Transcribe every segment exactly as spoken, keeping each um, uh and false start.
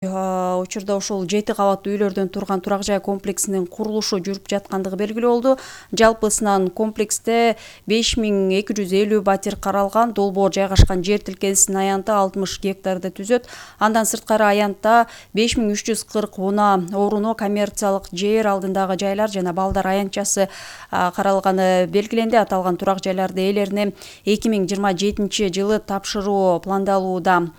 Учурда ошол жети кабаттуу үйлөрдөн турган турак жай комплексинин курулушу жүрүп жаткандыгы белгилүү болду. Жалпысынан комплексте беш миң эки жүз элүү батир каралган. Долбоор жайгашкан жер тилкесинин аянты алтымыш гектарды түзөт. Андан сырткары аянтта беш миң үч жүз кырк унаа орунуу коммерциялык жер алдындагы жайлар жана балдар аянтчасы каралганы белгиленди. Аталган турак жайларды ээлерине эки миң жыйырма жетинчи жылы тапшыруу пландалууда.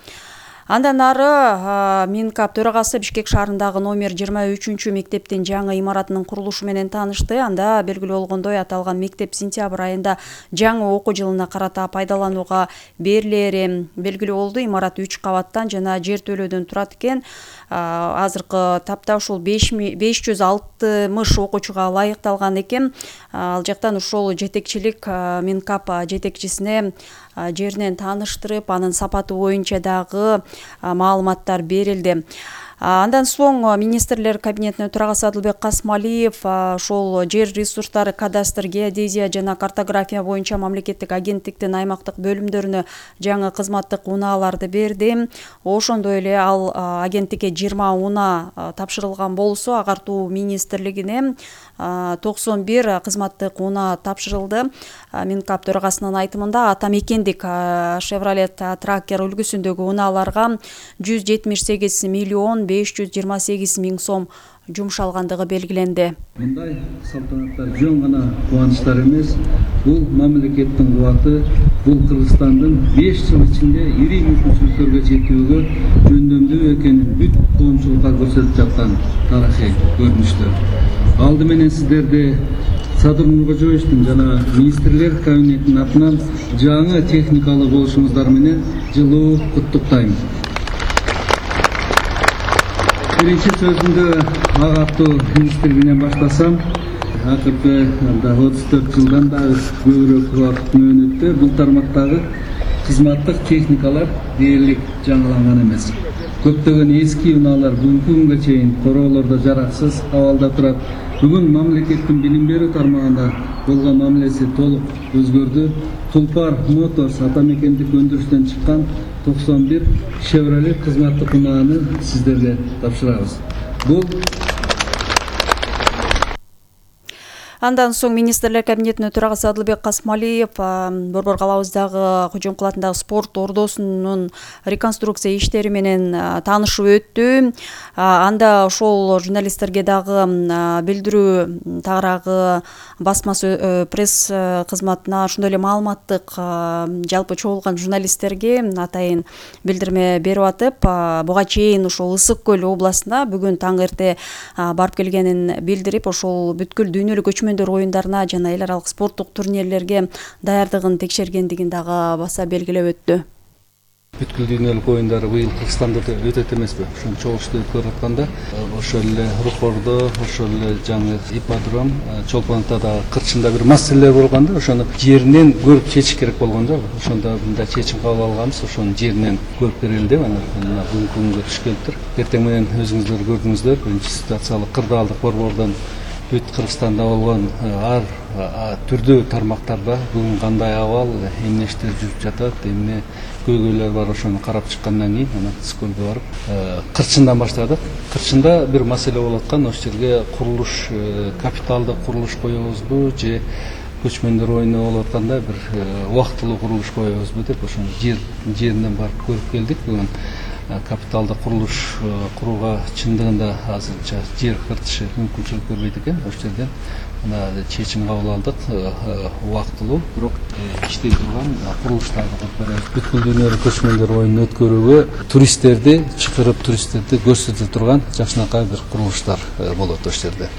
Андан ары Минкап төрагасы Бишкек шаарындагы номер жыйырма үчүнчү мектептин жаңы имаратынын курулушу менен таанышты. Анда белгилүү болгондой, аталган мектеп сентябрь айында жаңы окуу жылына карата пайдаланууга берилери белгилүү болду. Имарат үч кабаттан жана жер төлөөдөн турат экен. Азыркы тапта ушул беш жүз алтымыш окуучуга ылайыкталган экен. Ал жактан ушул жетекчилик Минкап жетекчисине жеринен тааныштырып, анын сапаты боюнча дагы маалыматтар берилди. Андан соң министрлер кабинетинин төрагасы Адылбек Касмалиев ошол жер ресурстары, кадастр, геодезия жана картография боюнча мамлекеттик агенттиктин аймактык бөлүмдөрүнө жаңы кызматтык унааларды берди. Ошондой эле ал агенттикке жыйырма унаа тапшырылган болсо, агартуу министрлигине токсон бир кызматтык унаа тапшырылды. Минкап төрагасынын айтымында ата мекендик Chevrolet Tracker үлгүсүндөгү унааларга жүз жетимиш сегиз миллион беш жүз жыйырма сегиз миң сом жумшалгандыгы белгиленди. Мындай салтанаттар жөн гана кубанычтар эмес, бул мамлекеттин кубаты, бул Кыргызстандын беш жыл ичинде ири мүмкүнчүлүктөргө жетүүгө жөндөмдүү экенин бүт коомчулукка көрсөтүп жаткан тарыхый көрүнүштөр. Алды менен сиздерди Садыр Нуркожоевичтин жана министрлер кабинетинин атынан жаңы техникалык болушуңуздар менен жылуу куттуктайм. Биринчи сөзүмдү агартуу министрлигинен баштасам, акыркы отуз төрт жылдан да көбүрөөк убакыт мөөнөттө бул тармактагы кызматтык техникалар дээрлик жаңыланган эмес. Көптөгөн эски унаалар бүгүнкү күнгө чейин короолордо жараксыз абалда турат. Бүгүн мамлекеттин билим берүү тармагында болгон мамилеси толук өзгөрдү. Тулпар Моторс ата мекендик өндүрүштөн чыккан токсон бир Chevrolet кызматтык унааны сиздерге тапшырабыз. Бул Андан соң министрлер кабинетинин төрагасы Адылбек Касмалиев Борбор калабыздагы Кожоң кулатындагы спорт ордосунун реконструкция иштери менен таанышып өттү. Анда ошол журналисттерге дагы билдирүү тагыраагы басма пресс кызматына, ошондой эле маалыматтык жалпы чогулган журналисттерге атайын билдирме берип атып, буга чейин ошол Ысык көл областына бүгүн таң эрте барып келгенин билдирип, ошол бүткүл дүйнөлүк көчмөндөр оюндарына жана эл аралык спорттук турнирлерге даярдыгын текшергендигин дагы баса белгилеп өттү. Бүткүл дүйнөлүк оюндар быйыл Кыргызстанда өтөт эмеспи? Ошону чогулушту өткөрүп атканда, ошол эле Рухордо, ошол эле жаңы ипподром, Чолпонокто да кырчында бир маселелер болгон да, ошону жеринен көрүп чечиш керек болгон да. Ошондо мындай чечим кабыл алганбыз, ошону жеринен көрүп берели деп, анан бүгүнкү күнгө түшкөнтүр. Эртең менен өзүңүздөр көрдүңүздөр, биринчи ситуациялык кырдаалдык борбордон бүт Кыргызстанда болгон ар түрдүү тармактарда бүгүн кандай абал, эмне иштер жүрүп жатат, эмне көйгөйлөр бар, ошону карап чыккандан кийин анан Ысыккөлгө барып Кырчындан баштадык. Кырчында бир маселе болуп аткан, ошол жерге курулуш, капиталдык курулуш коебузбу же көчмөндөр оюну болуп атканда бир убактылуу курулуш коебузбу деп ошону жер жеринен барып көрүп келдик. Бүгүн капиталдык курулуш курууга чындыгында азырынча жер кыртышы мүмкүнчүлүк бербейт экен. Ошол жерден мына чечим кабыл алдык, убактылуу бирок иштей турган курулуштарды куруп беребиз. Бүткүл дүйнөлүк көчмөндөр оюнун өткөрүүгө туристтерди чакырып, туристтерди көрсөтө турган жакшынакай бир курулуштар болот ошол жерде.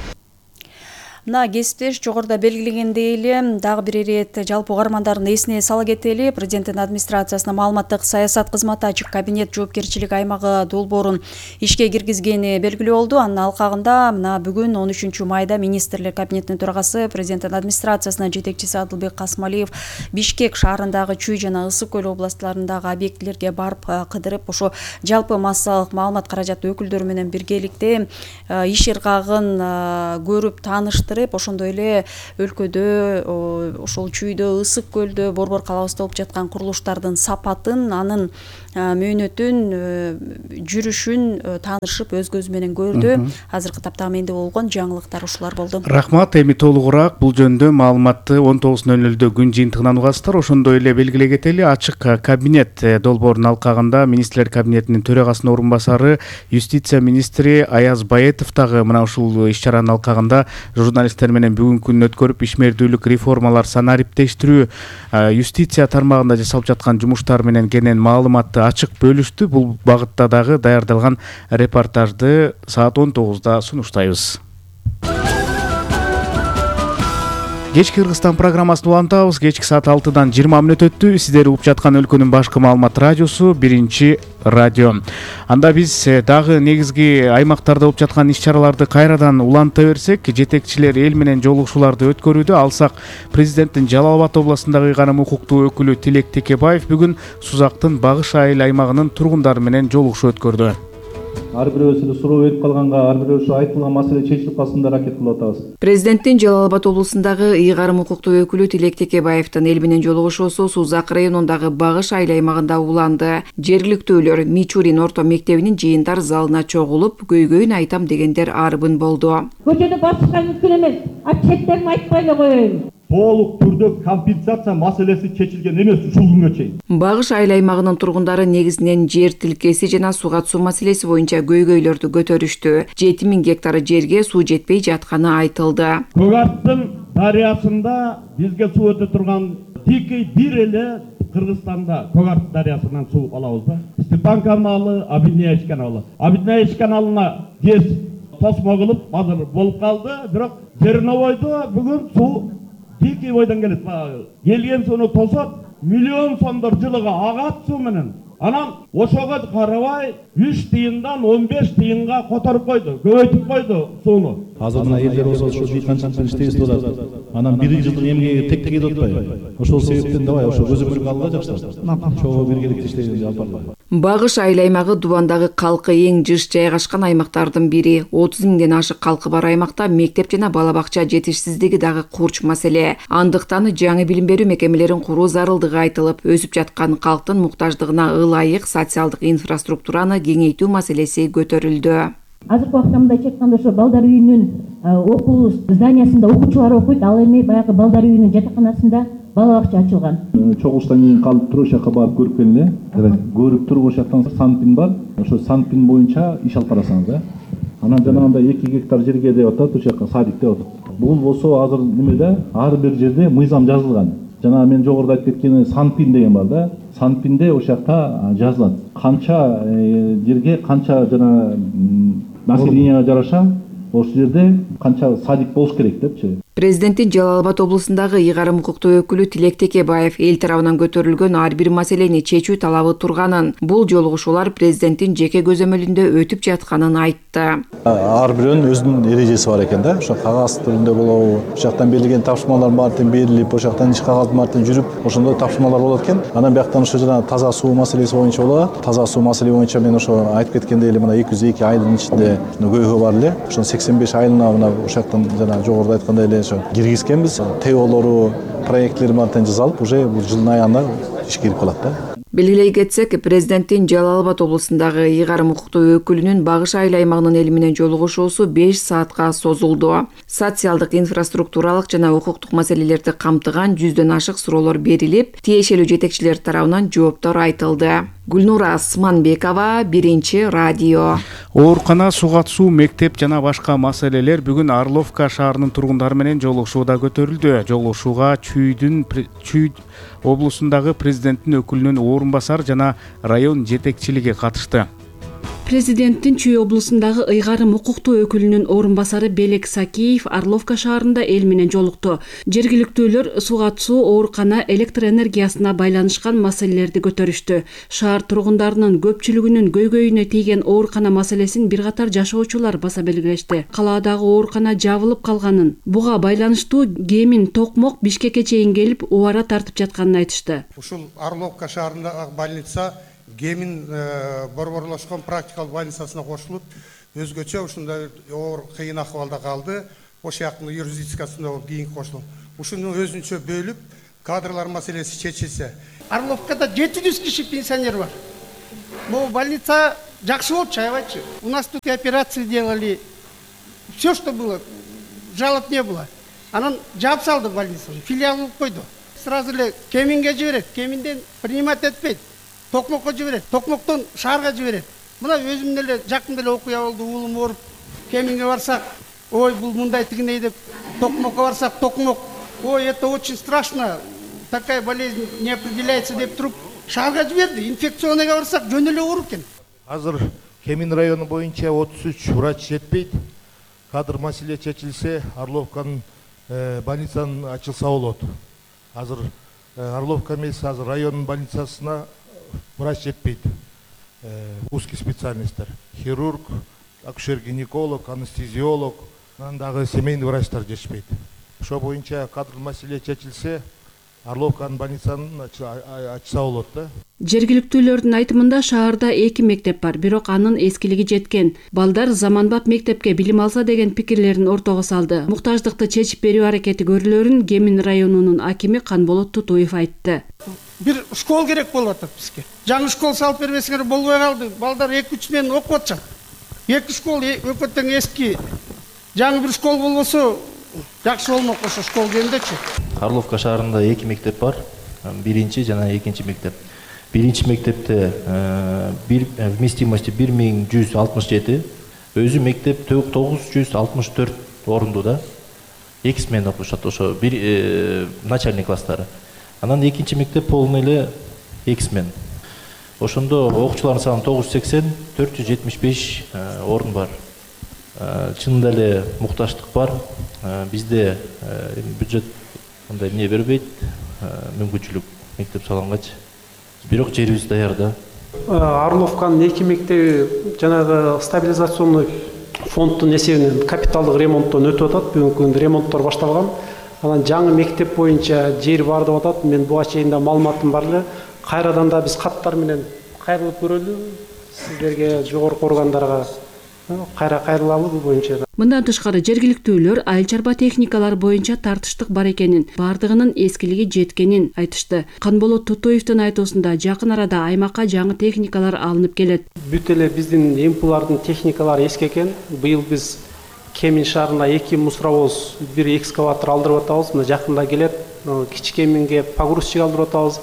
Мына кесиптеш жогоруда белгилегендей эле дагы бир ирет жалпы угармандардын эсине сала кетели. Президенттин администрациясынын маалыматтык саясат кызматы ачык кабинет жоопкерчилик аймагы долбоорун ишке киргизгени белгилүү болду. Анын алкагында мына бүгүн он үчүнчү майда министрлер кабинетинин төрагасы, президенттин администрациясынын жетекчиси Адылбек Касмалиев Бишкек шаарындагы Чүй жана Ысык көл областтарындагы объектилерге барып кыдырып, ошо жалпы массалык маалымат каражаты өкүлдөрү менен биргеликте иш ыргагын көрүп таанышты. алмаштырып, ошондой эле өлкөдө ошол Чүйдө, Ысык көлдө, Борбор калабызда болуп жаткан курулуштардын сапатын, анын мөөнөтүн, жүрүшүн таанышып, өз көзү менен көрдү. Азыркы тапта менде болгон жаңылыктар ушулар болду. Рахмат. Эми толугураак бул жөнүндө маалыматты он тогуз нөл нөлдө күн жыйынтыгынан угасыздар. Ошондой эле белгилей кетели, ачык кабинет долбоорунун алкагында министрлер кабинетинин төрагасынын орун басары, юстиция министри Аяз Баетов дагы мына ушул иш-чаранын алкагында журналисттер менен бүгүнкү күнү өткөрүп, ишмердүүлүк, реформалар, санариптештирүү, юстиция тармагында жасалып жаткан жумуштар менен кенен маалыматты ачык бөлүштү. Бул багытта дагы даярдалган репортажды саат он тогузда сунуштайбыз. Кечки Кыргызстан программасын улантабыз. Кечки саат алтыдан жыйырма мүнөт өттү. Сиздер угуп жаткан өлкөнүн башкы маалымат радиосу биринчи радио. Анда биз дагы негизги аймактарда болуп жаткан иш-чараларды кайрадан уланта берсек, жетекчилер эл менен жолугушууларды өткөрүүдө. Алсак, президенттин Жалал Абад областындагы ыйгарым укуктуу өкүлү Тилек Текебаев бүгүн Сузактын Багыш айыл аймагынын тургундары менен жолугушуу өткөрдү. Ар бирөөсү суроо берип калганга, ар бирөөсү айтылган маселе чечилип калсын деп аракет кылып атабыз. Президенттин Жалал Абад облусундагы ыйгарым укуктуу өкүлү Тилек Текебаевдин эл менен жолугушуусу Сузак районундагы Багыш айыл аймагында уланды. Жергиликтүүлөр Мичурин орто мектебинин жыйындар залына чогулуп, көйгөйүн айтам дегендер арбын болду. Көчөдө басышка мүмкүн эмес. А четтерин айтпай эле коеюн. Толук түрдө компенсация маселеси чечилген эмес ушул күнгө чейин. Багыш айыл аймагынын тургундары негизинен жер тилкеси жана суга суу маселеси боюнча көйгөйлөрдү көтөрүштү. жети миң гектар жерге суу жетпей жатканы айтылды. Көгаттын дарыясында бизге суу өтө турган тикей бир эле Кыргызстанда Көгарт дарыясынан суу алабыз да. Степан каналы, Абидняевич каналы. Абидняевич каналына кез тосмо кылып азыр болуп калды, бирок Жерновойдо бүгүн суу тикей бойдон келет. Келген сууну тосот, миллион сомдор жылыга агат суу менен. Анан ошого карабай үч тыйындан он беш тыйынга которуп койду, көбөйтүп койду сууну. Азыр мына элдер болсо ошо дыйканчылык иштейбиз деп атат. Анан бир жылдык эмгеги тек тек кетип атпайбы? Ошол себептен давай ошо көзөмөлгө алгыла жакшылар. Чогуу биргеликте иштейбиз жалпы. Багыш айыл аймагы Дубандагы калкы эң жыш жайгашкан аймактардын бири. отуз миңден ашык калкы бар аймакта мектеп жана бала бакча жетишсиздиги дагы курч маселе. Андыктан жаңы билим берүү мекемелерин куруу зарылдыгы айтылып, өсүп жаткан калктын муктаждыгына ылайык социалдык инфраструктураны кеңейтүү маселеси көтөрүлдү. Азыркы убакта мындай айтканда ошо балдар үйүнүн окуу зданиясында окуучулар окуйт, ал эми баягы балдар үйүнүн жатаканасында бала бакча ачылган. Чогулуштан кийин калып туруп, ошол жака барып көрүп келин эле. Көрүп туруп ошол жактан Санпин бар. Ошо Санпин боюнча иш алып барасыңыз да. Анан жанагындай эки гектар жерге деп атат, ошол жака садик деп атат. Бул болсо азыр немеде ар бир жерде мыйзам жазылган. Жана мен жогоруда айтып кеткен Санпин деген бар да. Санпинде ошол жакта жазылат. Канча жерге канча жана населенияга жараша ошол жерде канча садик болуш керек депчи. Президенттин Жалал Абад облусундагы ыйгарым укуктуу өкүлү Тилек Текебаев эл тарабынан көтөрүлгөн ар бир маселени чечүү талабы турганын, бул жолугушуулар президенттин жеке көзөмөлүндө өтүп жатканын айтты. Ар бирөөнүн өзүнүн эрежеси бар экен да. Ошо кагаз түрүндө болобу, ошол жактан берилген тапшырмалар баардыгы берилип, ошол жактан иш кагаз баардыгы жүрүп, ошондой тапшырмалар болот экен. Анан бияктан ошо жана таза суу маселеси боюнча болот. Таза суу маселеси боюнча мен ошо айтып кеткендей эле мына эки жүз эки айылдын ичинде көйгөй бар эле. Ошо сексен беш айылына мына ошол жактан жана жогоруда айткандай эле киргизкенбиз. ТОлору, проектлери баардыгын жасалып, уже бул жылдын аягында ишке кирип калат да. Белгилей кетсек, президенттин Жалал Абад облусундагы ыйгарым укуктуу өкүлүнүн Багыш айыл аймагынын эли менен жолугушуусу беш саатка созулду. Социалдык, инфраструктуралык жана укуктук маселелерди камтыган жүздөн ашык суроолор берилип, тиешелүү жетекчилер тарабынан жооптор айтылды. Гүлнура Асманбекова, биринчи радио. Оорукана, суга суу, мектеп жана башка маселелер бүгүн Орловка шаарынын тургундары менен жолугушууда көтөрүлдү. Жолугушууга Чүйдүн Чүй облусундагы президенттин өкүлүнүн орун басары жана район жетекчилиги катышты. Президенттин Чүй облусундагы ыйгарым укуктуу өкүлүнүн орун басары Белек Сакиев Орловка шаарында эл менен жолукту. Жергиликтүүлөр суга суу, оорукана, электр энергиясына байланышкан маселелерди көтөрүштү. Шаар тургундарынын көпчүлүгүнүн көйгөйүнө тийген оорукана маселесин бир катар жашоочулар баса белгилешти. Калаадагы оорукана жабылып калганын, буга байланыштуу Кемин Токмок Бишкекке чейин келип убара тартып жатканын айтышты. Ушул Орловка шаарындагы больница Кемин борборлошкон практикалык больницасына кошулуп, өзгөчө ушундай оор кыйын акыбалда калды. ошол жактын юрисдикциясында болуп кийин кошулуп ушуну өзүнчө бөлүп кадрлар маселеси чечилсе. Орловкада жети жүз киши пенсионер бар. Бул больница жакшы болчу, аябайчы. У нас тут и операции делали. Все, что было, жалоб не было. Анан жаап салды больницаны, филиал кылып койду. Сразу эле Кеминге жиберет, Кеминден принимать этпейт. Токмокко жиберет, Токмоктон шаарга жиберет. Мына өзүм деле жакында эле окуя болду, уулум ооруп, Кеминге барсак, ой, бул мындай тигиндей деп, Токмокко барсак, Токмок, ой, это очень страшно, такая болезнь не определяется деп туруп, шаарга жиберди. Инфекционныйга барсак, жөн эле ооруп экен. Азыр Кемин району боюнча отуз үч врач жетпейт. Кадр маселе чечилсе, Орловканын больницаны ачылса болот. Азыр Орловка эмес, азыр районун больницасына врач жетпейт. Узкий специальностьтер. Хирург, акушер-гинеколог, анестезиолог, анан дагы семейный врачтар жетишпейт. Ошо боюнча кадр маселе чечилсе, Орловканын больницаны ачса болот да. Жергиликтүүлөрдүн айтымында шаарда эки мектеп бар, бирок анын эскилиги жеткен. Балдар заманбап мектепке билим алса деген пикирлерин ортого салды. Муктаждыкты чечип берүү аракети көрүлөрүн Кемин районунун акими Канболот Тутуев айтты. Бир школ керек болуп атат бизге. Жаңы школ салып бербесеңер болбой калды. Балдар эки үч менен окуп атышат. Эки школ өкө тең эски. Жаңы бир школ болбосо жакшы болмок ошо школ жөнүндөчү. Орловка шаарында эки мектеп бар. Биринчи жана экинчи мектеп. Биринчи мектепте бир вместимости бир миң жүз алтымыш жети, өзү мектеп тогуз жүз алтымыш төрт орунду да. Эки смена окушат ошо бир начальный класстары. Анан экинчи мектеп полный эле эки смен. Ошондо окуучулардын саны тогуз жүз сексен, төрт жүз жетимиш беш орун бар. Чынында эле мукташтык бар. Бизде бюджет мындай эмне бербейт, мүмкүнчүлүк мектеп салгангачы. Бирок жерибиз даяр да. Орловканын эки мектеби жанагы стабилизационный фонддун эсебинен капиталдык ремонттон өтүп атат. Бүгүнкү күндө ремонттор башталган. Анан жаңы мектеп боюнча жер бар деп атат. Мен буга чейин да маалыматым бар эле. Кайрадан да биз каттар менен кайрылып көрөлү. Сиздерге, жогорку органдарга кайра кайрылалы бул боюнча. Мындан тышкары жергиликтүүлөр айыл чарба техникалары боюнча тартыштык бар экенин, бардыгынын эскилиги жеткенин айтышты. Канболот Тутуевдин айтуусунда жакын арада аймакка жаңы техникалар алынып келет. Бүт эле биздин эмпулардын техникалары эски экен. Быйыл биз Кемин шаарына эки мусоровоз, бир экскаватор алдырып атабыз. Мына жакында келет. Кичи Кеминге погрузчик алдырып атабыз.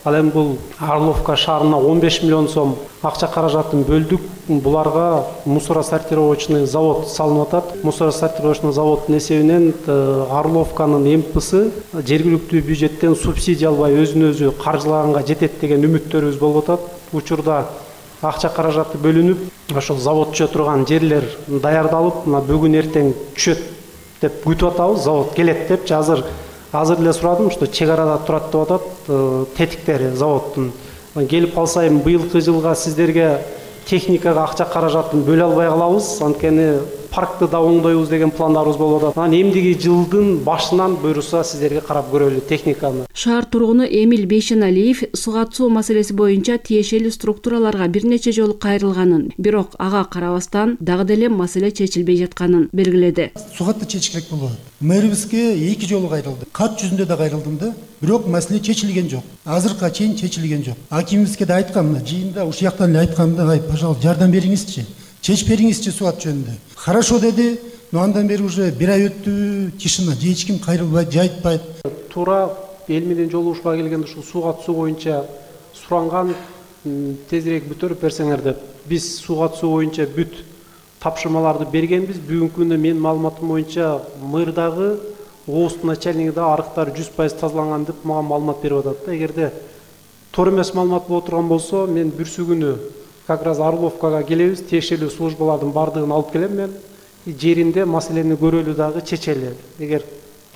Ал эми бул Орловка шаарына он беш миллион сом акча каражатын бөлдүк. Буларга мусоросортировочный завод салынып атат. Мусоросортировочный заводдун эсебинен Орловканын эмпысы жергиликтүү бюджеттен субсидия албай өзүн өзү каржылаганга жетет деген үмүттөрүбүз болуп атат. Учурда акча каражаты бөлүнүп, ошол завод түшө турган жерлер даярдалып, мына бүгүн эртең түшөт деп күтүп атабыз. Завод келет деп азыр азыр эле сурадым, что чек арада турат деп атат тетиктери заводдун. Келип калса эми быйылкы жылга сиздерге техникага акча каражатын бөлө албай калабыз. Анткени паркты да оңдойбуз деген пландарыбыз болуп атат. Анан эмдиги жылдын башынан буйруса сиздерге карап көрөлү техниканы. Шаар тургуну Эмил Бейшеналиев суга суу маселеси боюнча тиешелүү структураларга бир нече жолу кайрылганын, бирок ага карабастан дагы деле маселе чечилбей жатканын белгиледи. Сугатты чечиш керек болду. Мэрибизге эки жолу кайрылды. Кат жүзүндө да кайрылдым да, бирок маселе чечилген жок. Азыркыга чейин чечилген жок. Акимибизге да айткам, жыйында ушул жактан эле айткам да, ай, пожалуйста, жардам бериңизчи. Чечип бериңизчи суат жөнүндө. Хорошо деди, но андан бери уже бир ай өттү, тишина, же эч ким кайрылбайт, же айтпайт. Туура эл менен жолугушууга келгенде ушул суга суу боюнча суранган, тезирээк бүтөрүп берсеңер деп. Биз суга суу боюнча бүт тапшырмаларды бергенбиз. Бүгүнкү күндө менин маалыматым боюнча мэрдагы ооздун начальниги да арыктар жүз пайыз тазаланган деп мага маалымат берип атат. Эгерде туура эмес маалымат боло турган болсо, мен бүрсү күнү как раз Орловкага келебиз, тиешелүү службалардын бардыгын алып келем мен. Жеринде маселени көрөлү дагы чечели. Эгер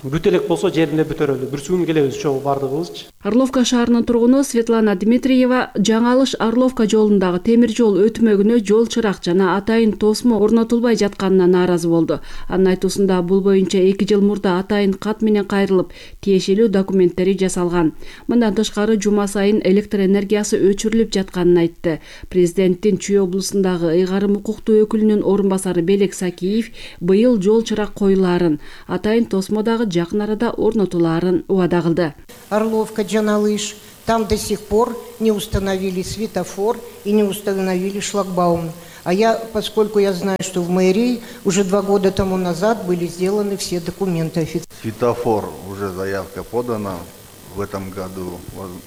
бүт элек болсо жеринде бүтөрөлү. Бүрсү күнү келебиз чогуу бардыгыбыз. Орловка шаарынын тургуну Светлана Дмитриева Жаңы Алыш Орловка жолундагы темир жол өтмөгүнө жол чырак жана атайын тосмо орнотулбай жатканына нааразы болду. Анын айтуусунда бул боюнча эки жыл мурда атайын кат менен кайрылып, тиешелүү документтери жасалган. Мындан тышкары жума сайын электр энергиясы өчүрүлүп жатканын айтты. Президенттин Чүй облусундагы ыйгарым укуктуу өкүлүнүн орун басары Белек Сакиев быйыл жол чырак коюлаарын, атайын тосмо дагы жакын арада орнотулаарын убада кылды. Орловка, Жаңы Алыш, там до сих пор не установили светофор и не установили шлагбаум. А я, поскольку я знаю, что в мэрии уже два года тому назад были сделаны все документы официально. Светофор, уже заявка подана, в этом году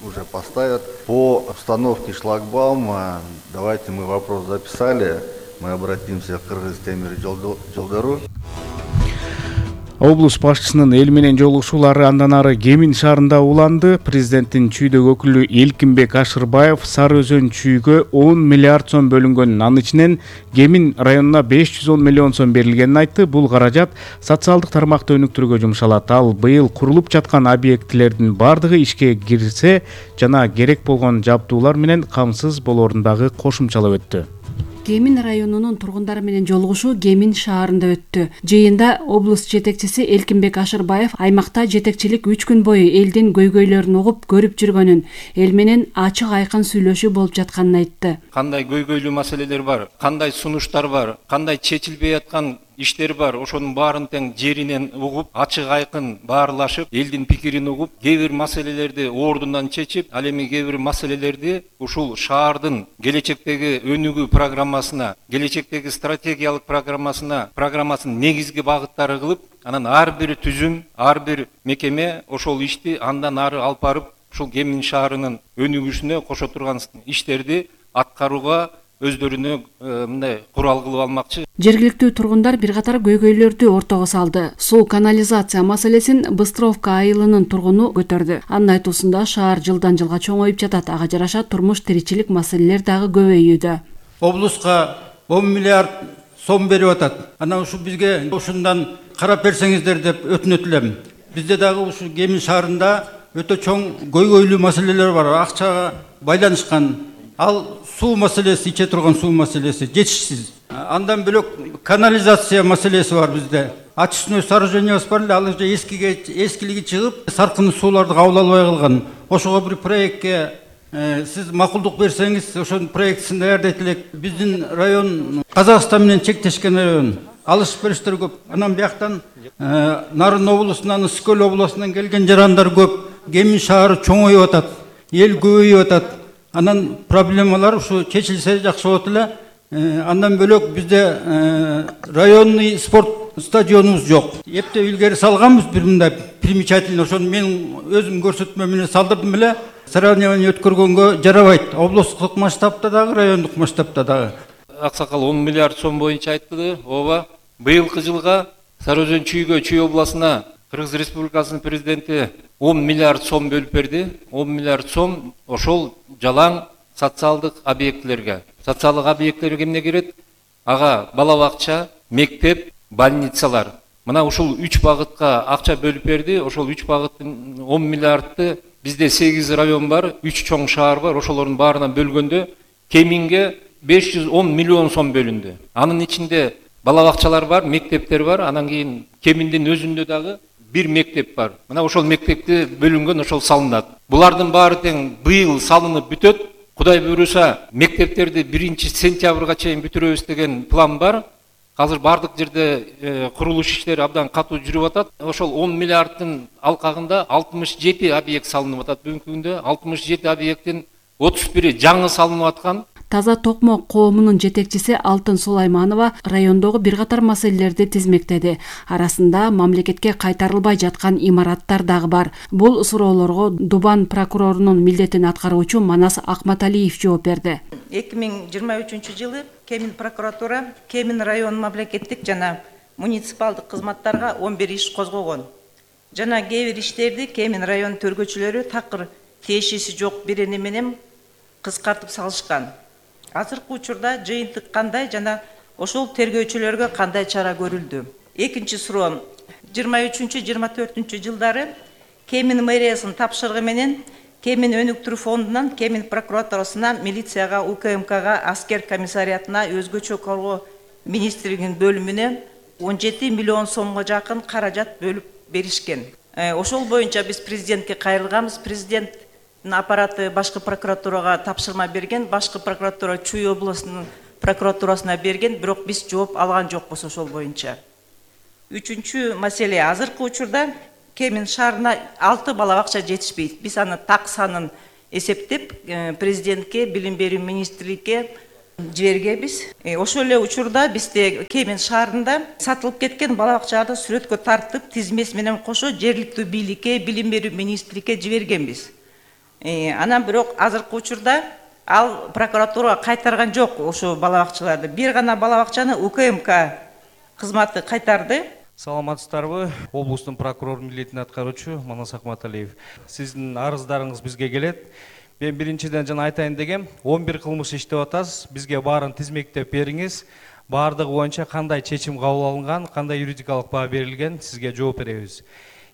уже поставят. По установке шлагбаума, давайте мы вопрос записали, мы обратимся к Кыргыз-Темир жолдору. Облус башчысынын эл менен жолугушуулары андан ары Кемин шаарында уланды. Президенттин Чүйдөгү өкүлү Элкинбек Ашырбаев Сары Өзөн Чүйгө он миллиард сом бөлүнгөнүн, анын ичинен Кемин районуна беш жүз он миллион сом берилгенин айтты. Бул каражат социалдык тармакты өнүктүрүүгө жумшалат. Ал быйыл курулуп жаткан объектилердин бардыгы ишке кирсе жана керек болгон жабдуулар менен камсыз болоорун дагы кошумчалап өттү. Кемин районунун тургундары менен жолугушуу Кемин шаарында өттү. Жыйында облус жетекчиси Элкинбек Ашырбаев аймакта жетекчилик үч күн бою элдин көйгөйлөрүн угуп көрүп жүргөнүн, эл менен ачык айкын сүйлөшүү болуп жатканын айтты. Кандай көйгөйлүү маселелер бар, кандай сунуштар бар, кандай чечилбей аткан иштер бар, ошонун баарын тең жеринен угуп, ачык айкын баарлашып, элдин пикирин угуп, кээ бир маселелерди ордунан чечип, ал эми кээ бир маселелерди ушул шаардын келечектеги өнүгүү программасына, келечектеги стратегиялык программасына, программасынын негизги багыттары кылып, анан ар бир түзүм, ар бир мекеме ошол ишти андан ары алып барып, ушул Кемин шаарынын өнүгүшүнө кошо турган иштерди аткарууга өздөрүнө мындай курал кылып алмакчы. Жергиликтүү тургундар бир катар көйгөйлөрдү ортого салды. Суу канализация маселесин Быстровка айылынын тургуну көтөрдү. Анын айтуусунда шаар жылдан жылга чоңоюп жатат, ага жараша турмуш тиричилик маселелер дагы көбөйүүдө. Облуска он миллиард сом берип атат. Анан ушу бизге ушундан карап берсеңиздер деп өтүнөт элем. Бизде дагы ушу Кемин шаарында өтө чоң көйгөйлүү маселелер бар, акчага байланышкан. Ал суу маселеси, иче турган суу маселеси жетишсиз. Андан бөлөк канализация маселеси бар бизде. Очистной сооружениябыз бар эле, ал же эскиге эскилиги чыгып, саркын сууларды кабыл албай калган. Ошого бир проектке сиз макулдук берсеңиз, ошонун проектисин даярдайт элек. Биздин район Казакстан менен чектешкен район. Алыш бериштер көп. Анан бияктан Нарын облусунан, Ысык-Көл облусунан келген жарандар көп. Кемин шаары чоңоюп атат, эл көбөйүп атат. Анан проблемалар ушу чечилсе жакшы болот эле. Андан бөлөк бизде районный спорт стадионубуз жок. Эптеп илгери салганбыз бир мындай примечательный, ошону мен өзүм көрсөтмө менен салдырдым эле. Соревнование өткөргөнгө жарабайт. Облустук масштабта дагы, райондук масштабта дагы. Аксакал он миллиард сом боюнча айтты. Ооба, быйылкы жылга Сары Өзөн Чүйгө, Чүй областына Кыргыз Республикасынын президенти он миллиард сом бөлүп берди. он миллиард сом ошол жалаң социалдык объектилерге. Социалдык объекттер кемне кирет? Ага бала бакча, мектеп, больницалар. Мына ушул үч багытка акча бөлүп берди. Ошол үч багыттын он миллиардты бизде сегиз район бар, үч чоң шаар бар. Ошолордун баарынан бөлгөндө Кеминге беш жүз он миллион сом бөлүндү. Анын ичинде бала бакчалар бар, мектептер бар. Анан кийин Кеминдин өзүндө дагы бир мектеп бар. Мына ошол мектепти бөлүнгөн, ошол салынат. Булардын баары тең быйыл салынып бүтөт. Кудай буйруса, мектептерди биринчи сентябрга чейин бүтүрөбүз деген план бар. Азыр бардык жерде курулуш иштери абдан катуу жүрүп атат. Ошол он миллиардтын алкагында алтымыш жети объект салынып атат. Бүгүнкү күндө алтымыш жети объекттин отуз бири жаңы салынып аткан. Таза Токмо коомунун жетекчиси Алтын Сулайманова райондогу бир катар маселелерди тизмектеди. Арасында мамлекетке кайтарылбай жаткан имараттар дагы бар. Бул суроолорго Дубан прокурорунун милдетин аткаруучу Манас Акматалиев жооп берди. эки миң жыйырма үчүнчү жылы Кемин прокуратура Кемин район мамлекеттик жана муниципалдык кызматтарга он бир иш козгогон. Жана кээ бир иштерди Кемин район төргөчүлөрү такыр тиешеси жок бирини менен кыскартып салышкан. Азыркы учурда жыйынтык кандай жана ошол тергөөчүлөргө кандай чара көрүлдү? Экинчи суроо. жыйырма үчүнчү жыйырма төртүнчү жылдары Кемин мэриясынын тапшырыгы менен Кемин өнүктүрүү фондунан Кемин прокуратурасына, милицияга, У К М Кга, аскер комиссариатына, өзгөчө коргоо министрлигинин бөлүмүнө он жети миллион сомго жакын каражат бөлүп беришкен. Ошол боюнча биз президентке кайрылганбыз. Президенттин аппараты башкы прокуратурага тапшырма берген, башкы прокуратура Чүй областынын прокуратурасына берген, бирок биз жооп алган жокпуз ошол боюнча. Үчүнчү маселе, азыркы учурда Кемин шаарына алты бала бакча жетишпейт. Биз аны так санын эсептеп, президентке, билим берүү министрликке жибергенбиз. Ошол эле учурда бизде Кемин шаарында сатылып кеткен бала бакчаларды сүрөткө тартып, тизмеси менен кошо жергиликтүү бийликке, билим берүү министрликке жибергенбиз. Анан бирок азыркы учурда ал прокуратурага кайтарган жок ошо бала бакчаларды. Бир гана бала бакчаны У К М К кызматы кайтарды. Саламатсыздарбы? Облустун прокурор милдетин аткаруучу Манас Акматалиев. Сиздин арыздарыңыз бизге келет. Мен биринчиден жана айтайын дегем, он бир кылмыш иштеп атасыз. Бизге баарын тизмектеп бериңиз. Баардыгы боюнча кандай чечим кабыл алынган, кандай юридикалык баа берилген, сизге жооп беребиз.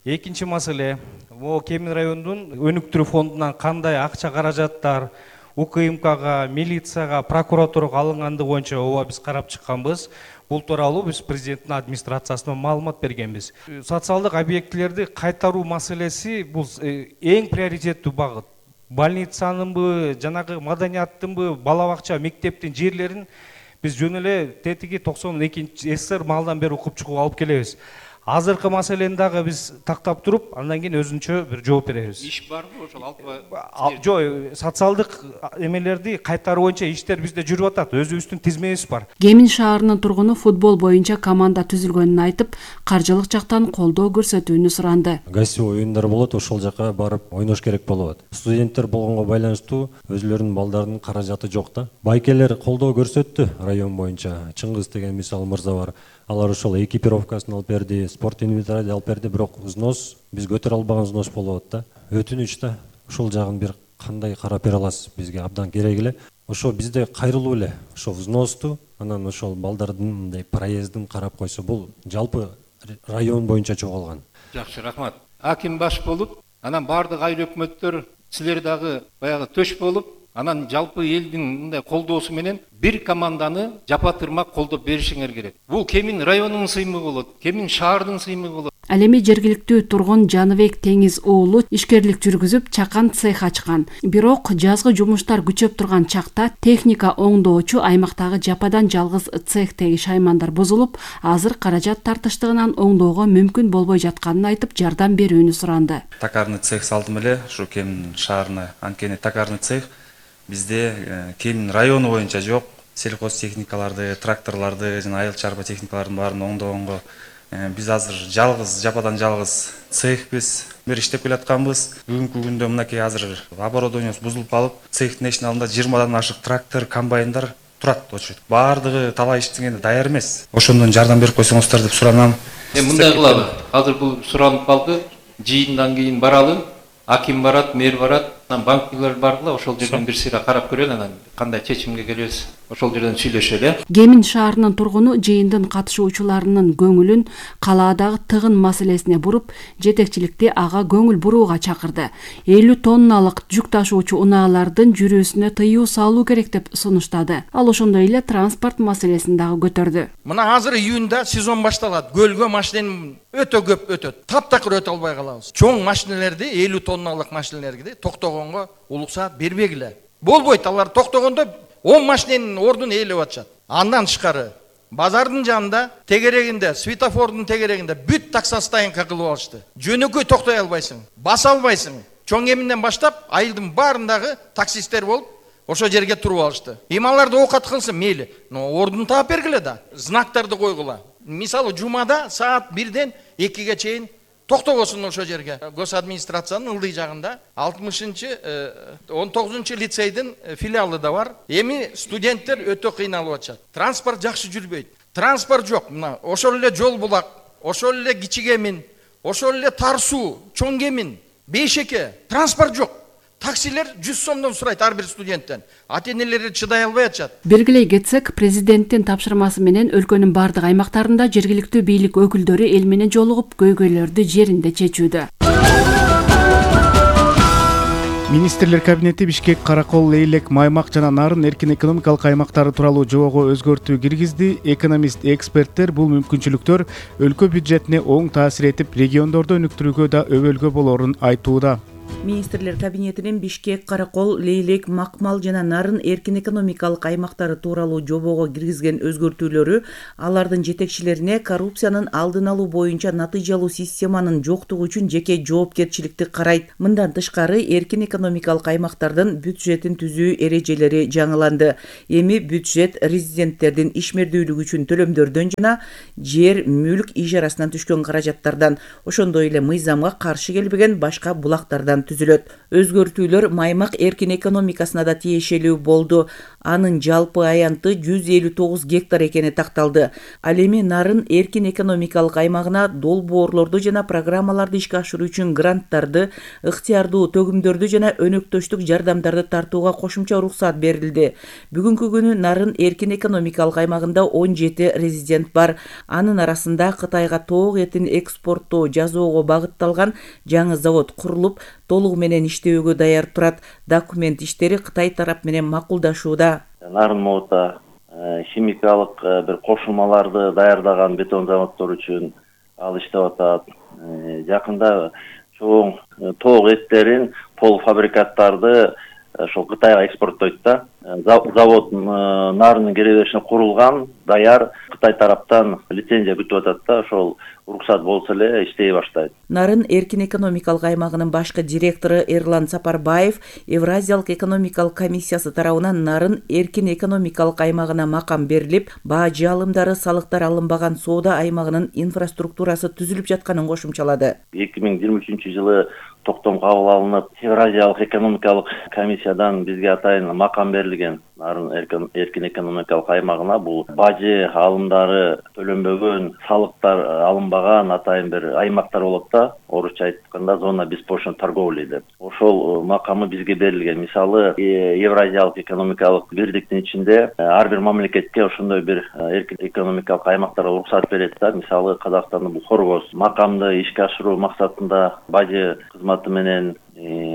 Экинчи маселе, могу Кемин районунун өнүктүрүү фондунан кандай акча каражаттар У К М Кга, милицияга, прокуратурага алынгандыгы боюнча ооба биз карап чыкканбыз. Бул тууралуу биз президенттин администрациясына маалымат бергенбиз. Социалдык объектилерди кайтаруу маселеси бул эң приоритеттүү багыт. Больницанынбы, жанагы маданияттынбы, бала бакча, мектептин жерлерин биз жөн эле тетиги токсон экинчи СССР маалдан бери укуп чыгууга алып келебиз. Азыркы маселени дагы биз тактап туруп, андан кийин өзүнчө бир жооп беребиз. Иш барбы ошол алпа? Жок, социалдык эмелерди кайтаруу боюнча иштер бизде жүрүп атат. Өзүбүздүн тизмебиз бар. Кемин шаарынын тургуну футбол боюнча команда түзүлгөнүн айтып, каржылык жактан колдоо көрсөтүүнү суранды. Гостевой оюндар болот, ошол жака барып ойнош керек болот. Студенттер болгонго байланыштуу өзүлөрүнүн балдарынын каражаты жок да. Байкелер колдоо көрсөттү район боюнча. Чыңгыз деген мисал мырза бар. Алар ошол экипировкасын алып берди, спорт инвентарьды алып берди, бирок взнос биз көтөрө албаган взнос болуп атат да. Өтүнүч да. Ошол жагын бир кандай карап бере аласыз? Бизге абдан керек эле. Ошо бизде кайрылуу эле. Ошо взносту, анан ошол балдардын мындай проездин карап койсо, бул жалпы район боюнча чогулган. Жакшы, рахмат. Аким баш болуп, анан баардык айыл өкмөттөр, силер дагы баягы төш болуп, анан жалпы элдин мындай колдоосу менен бир команданы жапа-тырмак колдоп беришиңер керек. Бул Кемин районунун сыймыгы болот, Кемин шаардын сыймыгы болот. Ал эми жергиликтүү тургун Жаныбек Теңиз уулу ишкерлик жүргүзүп чакан цех ачкан. Бирок жазгы жумуштар күчөп турган чакта техника оңдоочу аймактагы жападан жалгыз цехтеги шаймандар бузулуп, азыр каражат тартыштыгынан оңдоого мүмкүн болбой жатканын айтып, жардам берүүнү суранды. Токарный цех салдым эле, ушу Кемин шаарына. Анткени токарный цех бизде Кемин району боюнча жок. Сельхоз техникаларды, тракторларды жана айыл чарба техникалардын баарын оңдогонго биз азыр жалгыз, жападан жалгыз цехбиз, бир иштеп келатканбыз. Бүгүнкү күндө мынакей азыр оборудованиебиз бузулуп калып, цехтин эшигин алдында жыйырмадан ашык трактор, комбайндар турат очу. Баардыгы талай иштегенде даяр эмес. Ошондон жардам берип койсоңуздар деп суранам. Эми мындай кылалы. Азыр бул суранып калды. Жыйындан кийин баралы. Аким барат, мэр барат, анан банкилер бардыла, ошол жерден бир сыйра карап көрөлү, анан кандай чечимге келебиз, ошол жерден сүйлөшөлү. Кемин шаарынын тургуну жыйындын катышуучуларынын көңүлүн калаадагы тыгын маселесине буруп, жетекчиликти ага көңүл бурууга чакырды. элүү тонналык жүк ташуучу унаалардын жүрүүсүнө тыюу салуу керек деп сунуштады. Ал ошондой эле транспорт маселесин дагы көтөрдү. Мына азыр июнда сезон башталат. Көлгө машина өтө көп өтөт. Таптакыр өтө албай калабыз. Чоң машиналерди, элүү тонналык машиналерди токтогонго уруксаат бербегиле. Болбойт, алар токтогондо он машинанын ордун ээлеп атышат. Андан тышкары базардын жанында, тегерегинде, светофордун тегерегинде бүт таксостоянка кылып алышты. Жөнөкөй токтой албайсың, баса албайсың. Чоң Кеминден баштап айылдын баарындагы таксисттер болуп ошо жерге туруп алышты. Ималарды оокат кылсын мейли, но ордун таап бергиле да. Знактарды койгула. Мисалы жумада саат бирден экиге чейин токтогосун ошо жерге. Гос администрациянын ылдый жагында алтымышынчы он тогузунчу лицейдин филиалы да бар. Эми студенттер өтө кыйналып атышат. Транспорт жакшы жүрбөйт. Транспорт жок. Мына ошол эле жол булак, ошол эле Кичи Кемин, ошол эле Тар суу, Чоң Кемин, Бейшеке, транспорт жок. Таксилер жүз сомдон сурайт ар бир студенттен. Ата-энелери чыдай албай атышат. Белгилей кетсек, президенттин тапшырмасы менен өлкөнүн бардык аймактарында жергиликтүү бийлик өкүлдөрү эл менен жолугуп көйгөйлөрдү жеринде чечүүдө. Министрлер кабинети Бишкек, Каракол, Лейлек, Маймак жана Нарын эркин экономикалык аймактары тууралуу жобого өзгөртүү киргизди. Экономист, эксперттер бул мүмкүнчүлүктөр өлкө бюджетине оң таасир этип, региондорду өнүктүрүүгө да өбөлгө болорун айтууда. Министрлер кабинетинин Бишкек, Каракол, Лейлек, Макмал жана Нарын эркин экономикалык аймактары тууралуу жобого киргизген өзгөртүүлөрү алардын жетекчилерине коррупциянын алдын алуу боюнча натыйжалуу системанын жоктугу үчүн жеке жоопкерчиликти карайт. Мындан тышкары эркин экономикалык аймактардын бюджетин түзүү эрежелери жаңыланды. Эми бюджет резиденттердин ишмердүүлүгү үчүн төлөмдөрдөн жана жер, мүлк ижарасынан түшкөн каражаттардан, ошондой эле мыйзамга каршы келбеген башка булактардан түзүлөт. Өзгөртүүлөр Маймак эркин экономикасына да тиешелүү болду. Анын жалпы аянты жүз элүү тогуз гектар экени такталды. Ал эми Нарын эркин экономикалык аймагына долбоорлорду жана программаларды ишке ашыруу үчүн гранттарды, ыктыярдуу төгүмдөрдү жана өнөктөштүк жардамдарды тартууга кошумча уруксат берилди. Бүгүнкү күнү Нарын эркин экономикалык аймагында он жети резидент бар. Анын арасында Кытайга тоок этин экспорттоо жазоого багытталган жаңы завод курулуп, толугу менен иштөөгө даяр турат. Документ иштери Кытай тарап менен макулдашууда. Нарын Моута химикалык бир кошулмаларды даярдаган бетон заводдор үчүн ал иштеп атат. Жакында чоң тоок эттерин, полуфабрикаттарды ошол Кытайга экспорттойт да. Завод Нарынын киреберишине курулган, даяр, Кытай тараптан лицензия күтүп атат да, ошол уруксат болсо эле иштей баштайт. Нарын эркин экономикалык аймагынын башкы директору Эрлан Сапарбаев Евразиялык экономикалык комиссиясы тарабынан Нарын эркин экономикалык аймагына макам берилип, бажы алымдары, салыктар алынбаган соода аймагынын инфраструктурасы түзүлүп жатканын кошумчалады. эки миң жыйырма үчүнчү жылы токтом кабыл алынып, Евразиялык экономикалык комиссиядан бизге атайын макам берилген. Нарын эркин экономикалык аймагына бул бажы алымдары төлөнбөгөн, салыктар алынбаган атайын бир аймактар болот да, орусча айтканда зона беспошлиной торговли деп. Ошол макамы бизге берилген. Мисалы, Евразиялык экономикалык бирдиктин ичинде ар бир мамлекетке ошондой бир эркин экономикалык аймактарга уруксат берет да. Мисалы, Казакстандын бул Хоргоз макамды ишке ашыруу максатында бажы кызматы менен,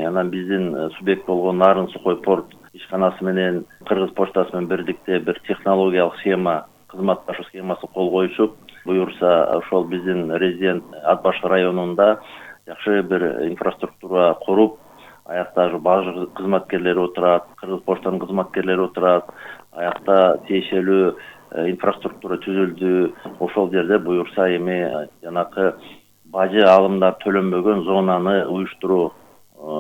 анан биздин субъект болгон Нарын сухой порт ишканасы менен Кыргыз почтасы менен бирдикте бир технологиялык схема, кызматташуу схемасы кол коюшуп, буюрса ошол биздин резидент Ат Башкы районунда жакшы бир инфраструктура куруп, аякта бажы кызматкерлери отурат, Кыргыз почтанын кызматкерлери отурат, аякта тиешелүү инфраструктура түзүлдү. Ошол жерде буюрса эми жанакы бажы алымдар төлөнбөгөн зонаны уюштуруу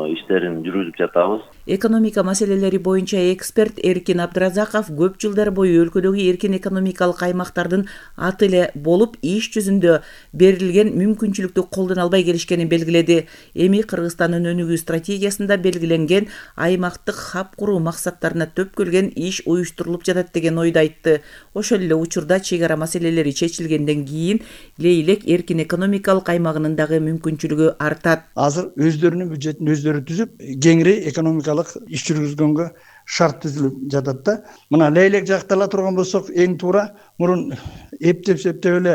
иштерин жүргүзүп жатабыз. Экономика маселелери боюнча эксперт Эркин Абдыразаков көп жылдар бою өлкөдөгү эркин экономикалык аймактардын аты эле болуп, иш жүзүндө берилген мүмкүнчүлүктү колдоно албай келишкенин белгиледи. Эми Кыргызстандын өнүгүү стратегиясында белгиленген аймактык хаб куруу максаттарына төпкөлгөн иш уюштурулуп жатат деген ойду айтты. Ошол эле учурда чек ара маселелери чечилгенден кийин Лейлек эркин экономикалык аймагынын дагы мүмкүнчүлүгү артат. Азыр өздөрүнүн бюджетин өздөрү түзүп, кеңири экономикалык иш жүргүзгөнгө шарт түзүлүп жатат да. Мына Лейлек жактала турган болсок, эң туура мурун эптеп септеп эле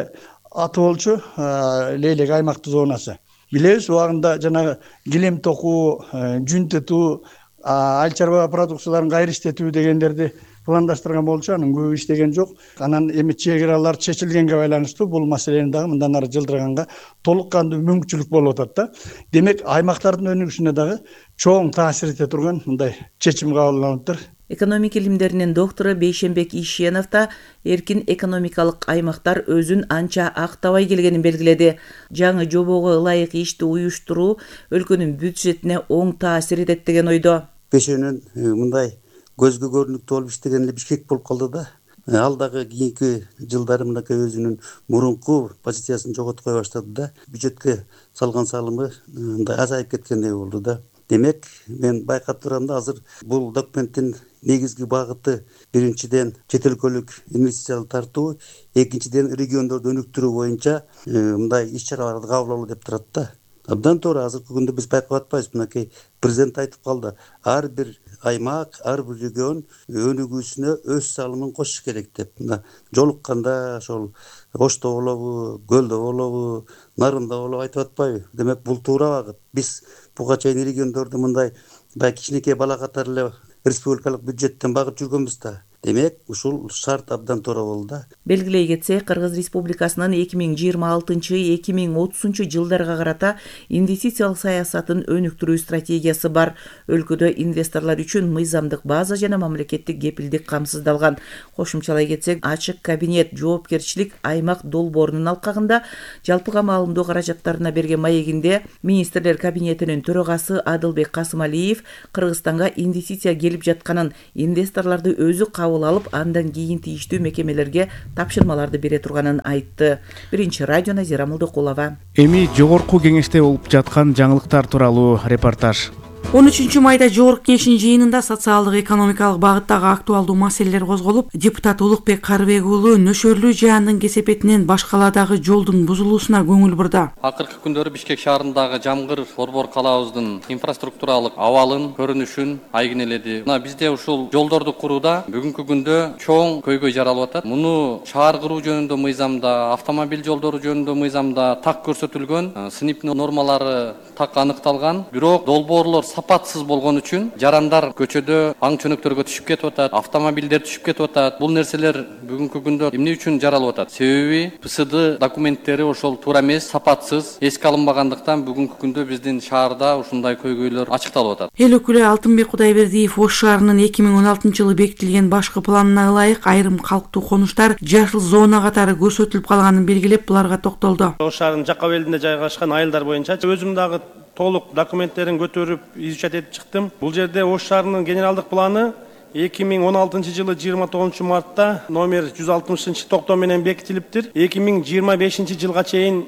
аты болчу Лейлек аймактык зонасы. Билебиз, убагында жанагы килем токуу, жүн тетүү, айыл чарба продукцияларын кайра иштетүү дегендерди пландаштырган болчу, анын көбү иштеген жок. Анан эми чек аралар чечилгенге байланыштуу бул маселени дагы мындан ары жылдырганга толук кандуу мүмкүнчүлүк болуп атат да. Демек, аймактардын өнүгүшүнө дагы чоң таасир эте турган мындай чечим кабыл алыныптыр. Экономика илимдеринин доктору Бейшенбек Ишенов да эркин экономикалык аймактар өзүн анча актабай келгенин белгиледи. Жаңы жобого ылайык ишти уюштуруу өлкөнүн бюджетине оң таасир этет деген ойдо. Бешенен мындай көзгө көрүнүктүү болуп иштеген эле Бишкек болуп калды да. Ал дагы кийинки жылдары мынакей өзүнүн мурунку позициясын жоготкой баштады да. Бюджетке салган салымы мындай азайып кеткендей болду да. Демек, мен байкап турам да, азыр бул документтин негизги багыты биринчиден чет өлкөлүк инвестицияларды тартуу, экинчиден региондорду өнүктүрүү боюнча мындай иш-чараларды кабыл алуу деп турат да. Абдан туура, азыркы күндө биз байкап атпайбыз, мынакей президент айтып калды. Ар бир аймак, ар бир регион өнүгүүсүнө өз салымын кошуш керек деп. Мына жолукканда ошол Ошто болобу, Көлдө болобу, Нарында болобу айтып атпайбы? Демек, бул туура багыт. Биз буга чейин региондорду мындай баягы кичинекей бала катары эле республикалык бюджеттен багып жүргөнбүз да. Демек, ушул шарт абдан туура болду да. Белгилей кетсек, Кыргыз Республикасынын эки миң жыйырма алтынчы — эки миң отузунчу жылдарга карата инвестициялык саясатын өнүктүрүү стратегиясы бар. Өлкөдө инвесторлор үчүн мыйзамдык база жана мамлекеттик кепилдик камсыздалган. Кошумчалай кетсек, ачык кабинет жоопкерчилик аймак долбоорунун алкагында жалпыга маалымдоо каражаттарына берген маегинде министрлер кабинетинин төрагасы Адылбек Касымалиев Кыргызстанга инвестиция келип жатканын, инвесторлорду өзү кабыл алып, андан кийин тийиштүү мекемелерге тапшырмаларды бере турганын айтты. Биринчи радио Назира Мулдукулова. Эми жогорку кеңеште болуп жаткан жаңылыктар тууралуу репортаж. он үчүнчү майда жогорку кеңештин жыйынында социалдык экономикалык багыттагы актуалдуу маселелер козголуп, депутат Улукбек Карыбек уулу нөшөрлүү жаандын кесепетинен башкаладагы жолдун бузулуусуна көңүл бурду. Акыркы күндөрү Бишкек шаарындагы Жамгыр борбор калаабыздын инфраструктуралык абалын, көрүнүшүн айгинеледи. Мына бизде ушул жолдорду курууда бүгүнкү күндө чоң көйгөй жаралып атат. Муну шаар куруу жөнүндө мыйзамда, автомобиль жолдору жөнүндө мыйзамда так көрсөтүлгөн, сыныптын нормалары так аныкталган, бирок долбоорлор сапатсыз болгон үчүн жарандар көчөдө аң чөнөктөргө түшүп кетип атат, автомобилдер түшүп кетип атат. Бул нерселер бүгүнкү күндө эмне үчүн жаралып атат? Себеби П С Д документтери ошол туура эмес, сапатсыз, эске алынбагандыктан бүгүнкү күндө биздин шаарда ушундай көйгөйлөр ачыкталып атат. Эл өкүлү Алтынбек Кудайбердиев Ош шаарынын эки миң он алтынчы жылы бекитилген башкы планына ылайык айрым калктуу конуштар жашыл зона катары көрсөтүлүп калганын белгилеп, буларга токтолду. Ош шаарынын жакка белинде жайгашкан айылдар боюнча өзүм дагы толук документтерин көтөрүп изучать этип чыктым. Бул жерде Ош шаарынын генералдык планы эки миң он алтынчы жылы жыйырма тогузунчу мартта номер жүз алтымышынчы токтом менен бекитилиптир. эки миң жыйырма бешинчи жылга чейин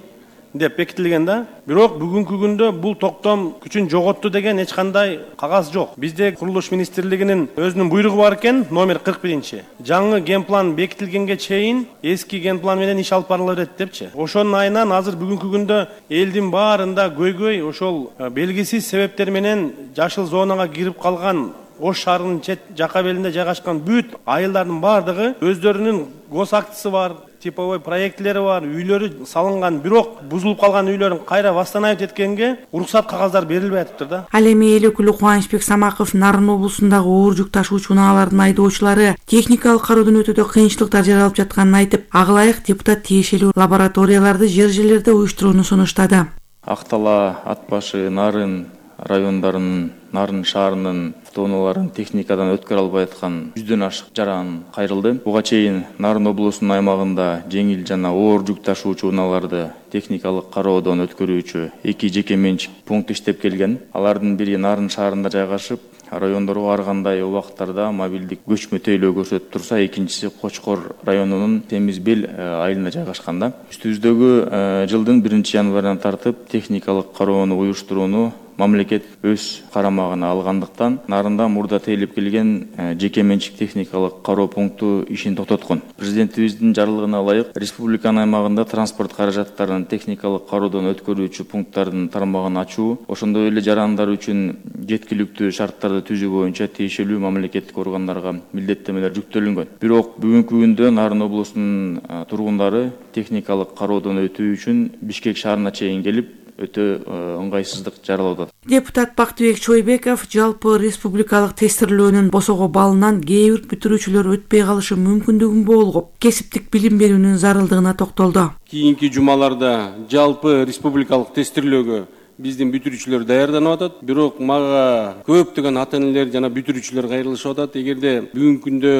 деп бекитилген да. Бирок бүгүнкү күндө бул токтом күчүн жоготту деген эч кандай кагаз жок. Бизде курулуш министрлигинин өзүнүн буйругу бар экен, номер кырк биринчи. Жаңы генплан бекитилгенге чейин эски генплан менен иш алып барыла берет депчи. Ошонун айынан азыр бүгүнкү күндө элдин баарында көйгөй ошол белгисиз себептер менен жашыл зонага кирип калган Ош шаарынын чет жакка белинде жайгашкан бүт айылдардын баардыгы өздөрүнүн госактысы бар, типовой проектилери бар, үйлөрү салынган, бирок бузулуп калган үйлөрүн кайра восстановить эткенге уруксат кагаздар берилбей атыптыр да. Ал эми эл өкүлү Кубанычбек Самаков Нарын облусундагы оор жүк ташуучу унаалардын айдоочулары техникалык кароодон өтүүдө кыйынчылыктар жаралып жатканын айтып, ага ылайык депутат тиешелүү лабораторияларды жер жерлерде уюштурууну сунуштады. Актала, Ат башы, Нарын райондарынын, Нарын шаарынын автоунааларын техникадан өткөрө албай аткан жүздөн ашык жаран кайрылды. Буга чейин Нарын облусунун аймагында жеңил жана оор жүк ташуучу унааларды техникалык кароодон өткөрүүчү эки жеке менчик пункт иштеп келген. Алардын бири Нарын шаарында жайгашып, райондорго ар кандай убакыттарда мобилдик көчмө тейлөө көрсөтүп турса, экинчиси Кочкор районунун Темиз Бел айылына жайгашкан да. Үстүбүздөгү жылдын биринчи январынан тартып техникалык кароону уюштурууну мамлекет өз карамагына алгандыктан Нарында мурда тейлеп келген жеке менчик техникалык кароо пункту ишин токтоткон. Президентибиздин жарлыгына ылайык республиканын аймагында транспорт каражаттарын техникалык кароодон өткөрүүчү пункттардын тармагын ачуу, ошондой эле жарандар үчүн жеткиликтүү шарттарды түзүү боюнча тиешелүү мамлекеттик органдарга милдеттемелер жүктөлүнгөн. Бирок бүгүнкү күндө Нарын облусунун тургундары техникалык кароодон өтүү үчүн Бишкек шаарына чейин келип өтө ыңгайсыздык жаралып атат. Депутат Бактыбек Чойбеков жалпы республикалык тестирлөөнүн босого балынан кээ бир бүтүрүүчүлөр өтпөй калышы мүмкүндүгүн болгоп, кесиптик билим берүүнүн зарылдыгына токтолду. Кийинки жумаларда жалпы республикалык тестирлөөгө биздин бүтүрүүчүлөр даярданып атат. Бирок мага көптөгөн ата-энелер жана бүтүрүүчүлөр кайрылышып атат. Эгерде бүгүнкү күндө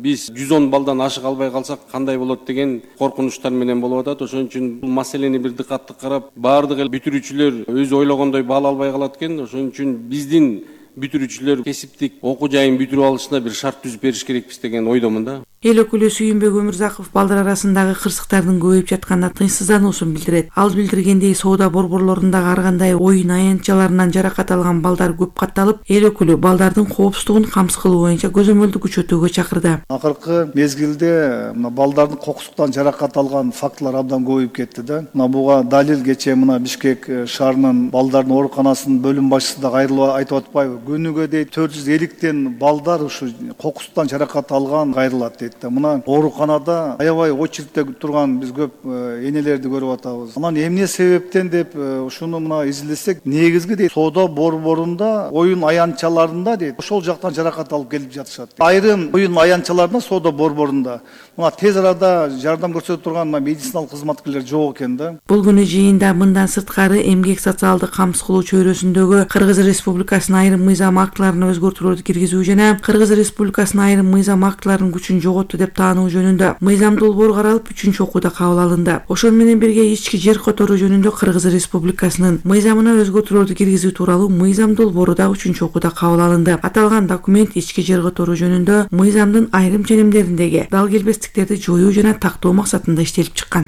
биз жүз он балдан ашык албай калсак кандай болот деген коркунучтар менен болуп атат. Ошон үчүн бул маселени бир дыкаттуу карап, баардык эл бүтүрүүчүлөр өзү ойлогондой баал албай калат экен. Ошон үчүн биздин бүтүрүүчүлөр кесиптик окуу жайын бүтүрүп алышына бир шарт түзүп бериш керекпиз деген ойдомун да. Эл өкүлү Сүйүнбек Өмүрзаков балдар арасындагы кырсыктардын көбөйүп жатканына тынчсыздануусун билдирет. Ал билдиргендей, соода борборлорундагы ар кандай оюн аянтчаларынан жаракат алган балдар көп катталып, эл өкүлү балдардын коопсуздугун камсыз кылуу боюнча көзөмөлдү күчөтүүгө чакырды. Акыркы мезгилде мына балдардын кокустуктан жаракат алган фактылар абдан көбөйүп кетти да. Мына буга далил кечээ мына Бишкек шаарынын балдардын ооруканасынын бөлүм башчысы да кайрылып айтып атпайбы? күнүгө дейт төрт жүз элүүтен балдар ушу кокустан жаракат алган кайрылат дейт да. Мына ооруканада аябай очередте турган биз көп энелерди көрүп атабыз. Анан эмне себептен деп ушуну мына изилдесек, негизги дейт соода борборунда, оюн аянтчаларында дейт ошол жактан жаракат алып келип жатышат. Айрым оюн аянтчаларында, соода борборунда мына тез арада жардам көрсөтө турган медициналык кызматкерлер жок экен да. Бул күнү жыйында мындан сырткары эмгек социалдык камсыз кылуу чөйрөсүндөгү Кыргыз Республикасынын айрым мыйзам актыларына өзгөртүүлөрдү киргизүү жана Кыргыз Республикасынын айрым мыйзам актыларынын күчүн жоготту деп таануу жөнүндө мыйзам долбоору каралып үчүнчү окууда кабыл алынды. Ошол менен бирге ички жер которуу жөнүндө Кыргыз Республикасынын мыйзамына өзгөртүүлөрдү киргизүү тууралуу мыйзам долбоору да үчүнчү окууда кабыл алынды. Аталган документ ички жер которуу жөнүндө мыйзамдын айрым ченемдериндеги дал келбестиктерди жоюу жана тактоо максатында иштелип чыккан.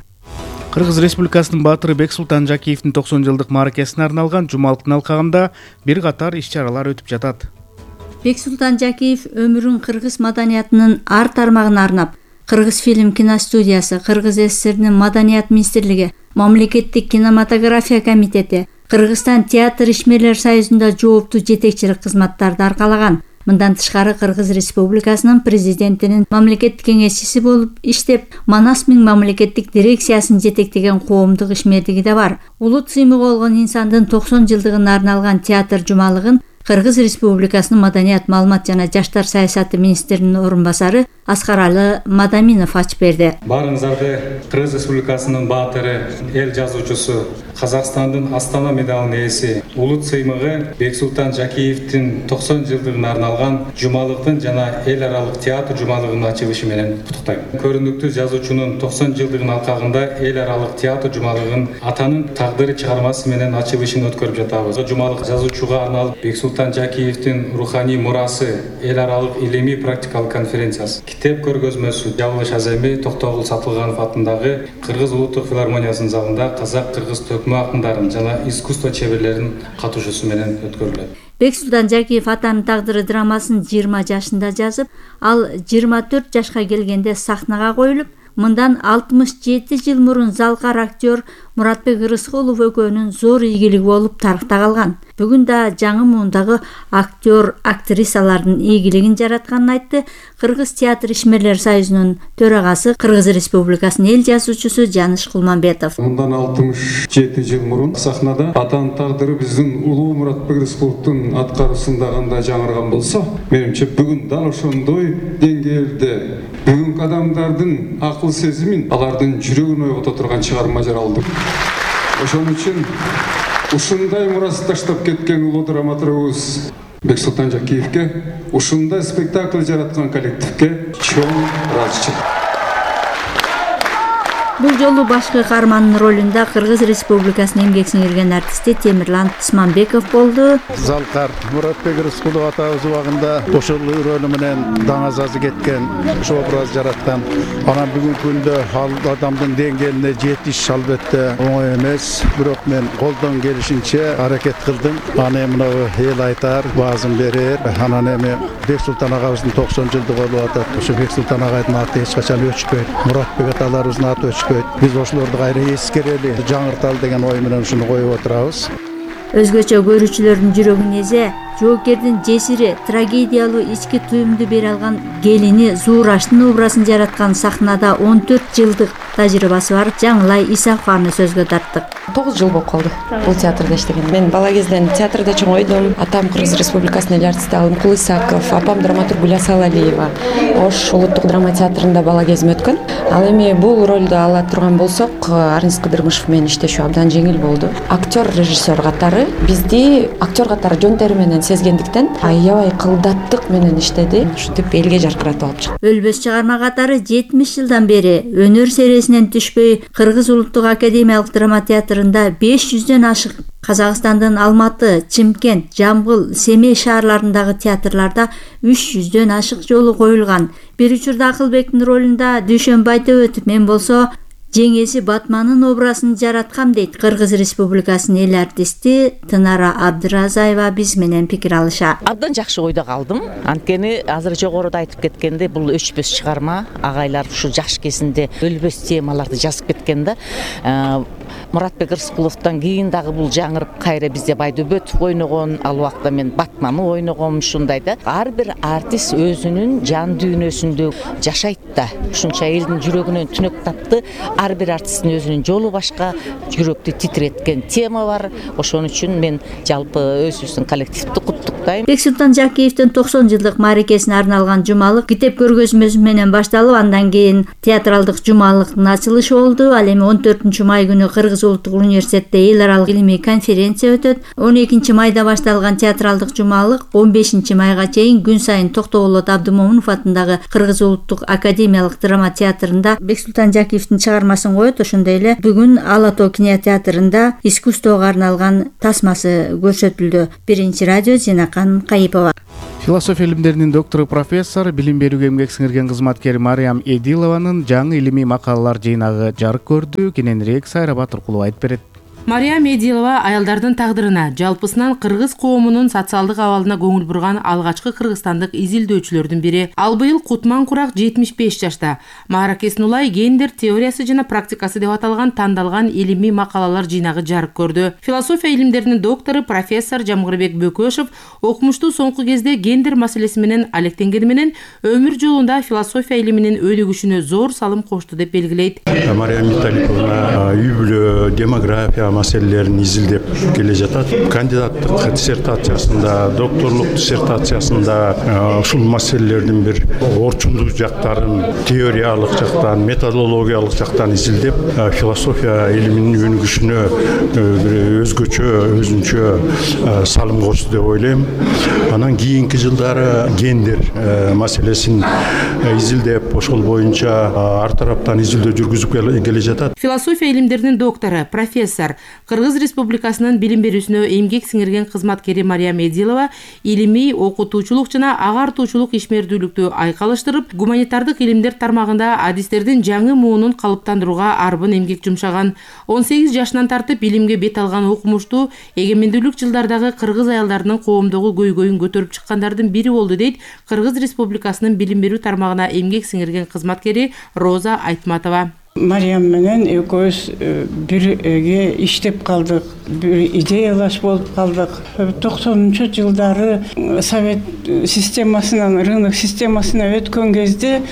Кыргыз Республикасынын баатыры Бексултан Жакиевдин токсон жылдык мааракесине арналган жумалыктын алкагында бир катар иш-чаралар өтүп жатат. Бексултан Жакиев өмүрүн кыргыз маданиятынын ар тармагына арнап, Кыргыз фильм киностудиясы, Кыргыз СССРнин Маданият министрлиги, Мамлекеттик кинематография комитети, Кыргызстан театр ишмерлер союзунда жооптуу жетекчилик кызматтарды аркалаган. Мындан тышкары Кыргыз Республикасынын президентинин мамлекеттик кеңешчиси болуп иштеп, Манас Миң мамлекеттик дирекциясын жетектеген коомдук ишмердиги да бар. Улут сыймыгы болгон инсандын токсон жылдыгына арналган театр жумалыгын Кыргыз Республикасынын Маданият, маалымат жана жаштар саясаты министринин орун басары Аскаралы Мадаминов ачып берди. Баарыңыздарды Кыргыз Республикасынын баатыры, эл жазуучусу, Казакстандын Астана медалынын ээси, улут сыймыгы Бексултан Жакиевдин токсон жылдыгына арналган жумалыктын жана эл аралык театр жумалыгынын ачылышы менен куттуктайм. Көрүнүктүү жазуучунун токсон жылдыгынын алкагында эл аралык театр жумалыгын атанын тагдыры чыгармасы менен ачылышын өткөрүп жатабыз. Жумалык жазуучуга арналып Бексултан Жакиевдин руханий мурасы эл аралык илимий практикалык конференциясы, китеп көргөзмөсү Жабылыш Аземи Токтогул Сатылганов атындагы Кыргыз улуттук филармониясынын залында казак-кыргыз төкмө акындарын жана искусство чеберлеринин катышуусу менен өткөрүлөт. Бексултан Жакиев атанын тагдыры драмасын жыйырма жашында жазып, ал жыйырма төрт жашка келгенде сахнага коюлуп, мындан алтымыш жети жыл мурун залкар актер Муратбек Ырыскулов экөөнүн зор ийгилиги болуп тарыхта калган. Бүгүн да жаңы муундагы актер, актрисалардын ийгилигин жаратканын айтты Кыргыз театр ишмерлер союзунун төрагасы, Кыргыз Республикасынын эл жазуучусу Жаныш Кулманбетов. Мындан алтымыш жети жыл мурун сахнада атанын тагдыры биздин улуу Муратбек Рыскуловдун аткаруусунда кандай жаңырган болсо, менимче бүгүн дал ошондой деңгээлде бүгүнкү адамдардын акыл сезимин, алардын жүрөгүн ойгото турган чыгарма жаралды. Ошон үчүн ушундай мурас таштап кеткен улуу драматургубуз Бексултан Жакиевке, ушундай спектакль жараткан коллективге чоң ыраазычылык. Бул жолу башкы каармандын ролунда Кыргыз Республикасынын эмгек сиңирген артисти Темирлан Исманбеков болду. Залкар Муратбек Рыскулов атабыз убагында ошол рөлү менен даңазазы кеткен, ошол образ жараткан. Анан бүгүнкү күндө ал адамдын деңгээлине жетиш албетте оңой эмес, бирок мен колдон келишинче аракет кылдым. Аны мына эл айтар, баазын берер. Анан эми Бексултан агабыздын токсон жылдыгы болуп атат. Ошо Бексултан агайдын аты эч качан өчпөйт. Муратбек аталарыбыздын аты өчпөйт. Биз ошолорду кайра эскерели, жаңырталы деген ой менен ушуну коюп отурабыз. Өзгөчө көрүүчүлөрдүн жүрөгүн эзе, жоокердин жесири, трагедиялуу ички туюмду бере алган келини Зуураштын образын жараткан сахнада он төрт жылдык тажрыйбасы бар Жаңылай Исакованы сөзгө тарттык. тогуз жыл болуп калды бул театрда иштеген. Мен бала кезден театрда чоңойдум. Атам Кыргыз Республикасынын эл артисти Алымкул Исаков, апам драматург Гүл Асалалиева. Ош улуттук драма театрында бала кезим өткөн. Ал эми бул ролду ала турган болсок, Арнис Кыдырмышев менен иштешүү абдан жеңил болду. Актер, режиссер катары бизди актер катары жөн тери менен сезгендиктен аябай кылдаттык менен иштеди. Ушинтип элге жаркыратып алып чыкты. Өлбөс чыгарма катары жетимиш жылдан бери өнөр сересинен түшпөй Кыргыз улуттук академиялык драма театрында беш жүздөн ашык Казакстандын Алматы, Чимкент, Жамбыл, Семей шаарларындагы театрларда үч жүздөн ашык жолу коюлган. Бир учурда Акылбектин ролунда Дүйшөнбай Төбөтов, мен болсо жеңеси Батманын образын жараткам дейт Кыргыз Республикасынын эл артисти Тынара Абдыразаева биз менен пикир алыша. Абдан жакшы ойдо калдым. Анткени азыр жогоруда айтып кеткенде бул өчпөс чыгарма, агайлар ушу жаш кезинде өлбөс темаларды жазып кеткен да. Муратбек Рыскуловдон кийин дагы бул жаңырып кайра бизде Байдөбөтов ойногон, ал убакта мен Батманы ойногом, ушундай да. Ар бир артист өзүнүн жан дүйнөсүндө жашайт да. Ушунча элдин жүрөгүнөн түнөк тапты. Ар бир артисттин өзүнүн жолу башка, жүрөктү титиреткен тема бар. Ошон үчүн мен жалпы өзүбүздүн коллективди куттуктайм. Бексултан Жакиевдин токсон жылдык мааракесине арналган жумалык китеп көргөзмөсү менен башталып, андан кийин театралдык жумалыктын ачылышы болду. Ал эми он төртүнчү май күнү Кыргыз улуттук университетте эл аралык илимий конференция өтөт. он экинчи майда башталган театралдык жумалык он бешинчи майга чейин күн сайын Токтоболот Абдымомунов атындагы Кыргыз улуттук академиялык драма театрында Бексултан Жакиевдин чыгармасын коет. Ошондой эле бүгүн Ала Тоо кинотеатрында искусствого арналган тасмасы көрсөтүлдү. Биринчи радио Зинакан Кайыпова. Философия илимдеринин доктору, профессор, билим берүүгө эмгек сиңирген кызматкер Мариям Эдилованын жаңы илимий макалалар жыйнагы жарык көрдү. Кененирээк Сайра Батыркулова айтып берет. Мариям Эдилова аялдардын тагдырына, жалпысынан кыргыз коомунун социалдык абалына көңүл бурган алгачкы кыргызстандык изилдөөчүлөрдүн бири. Ал быйыл Кутман Курак жетимиш беш жашта. Мааракесин улай гендер теориясы жана практикасы деп аталган тандалган илимий макалалар жыйнагы жарык көрдү. Философия илимдеринин доктору, профессор Жамгырбек Бөкөшев окумушту соңку кезде гендер маселеси менен алектенгени менен өмүр жолунда философия илиминин өнүгүшүнө зор салым кошту деп белгилейт. Мариям Виталиевна үй бүлө, демография маселелерин изилдеп келе жатат. Кандидаттык диссертациясында, докторлук диссертациясында ушул маселелердин бир орчундуу жактарын, теориялык жактан, методологиялык жактан изилдеп, философия илиминин өнүгүшүнө өзгөчө, өзүнчө салым кошду деп ойлойм. Анан кийинки жылдары гендер маселесин изилдеп, ошол боюнча ар тараптан изилдөө жүргүзүп келе жатат. Философия илимдеринин доктору, профессор, Кыргыз Республикасынын билим берүүсүнө эмгек сиңирген кызматкери Мариям Эдилова илимий, окутуучулук жана агартуучулук ишмердүүлүктү айкалыштырып, гуманитардык илимдер тармагында адистердин жаңы муунун калыптандырууга арбын эмгек жумшаган. он сегиз жашынан тартып илимге бет алган окумуштуу эгемендүүлүк жылдардагы кыргыз аялдарынын коомдогу көйгөйүн көтөрүп чыккандардын бири болду дейт Кыргыз Республикасынын билим берүү тармагына эмгек сиңирген кызматкери Роза Айтматова. Мариям менен экөөбүз бирге иштеп калдык, бир идеялаш болуп калдык. токсонунчу жылдары совет системасынан рынок системасына өткөн кезде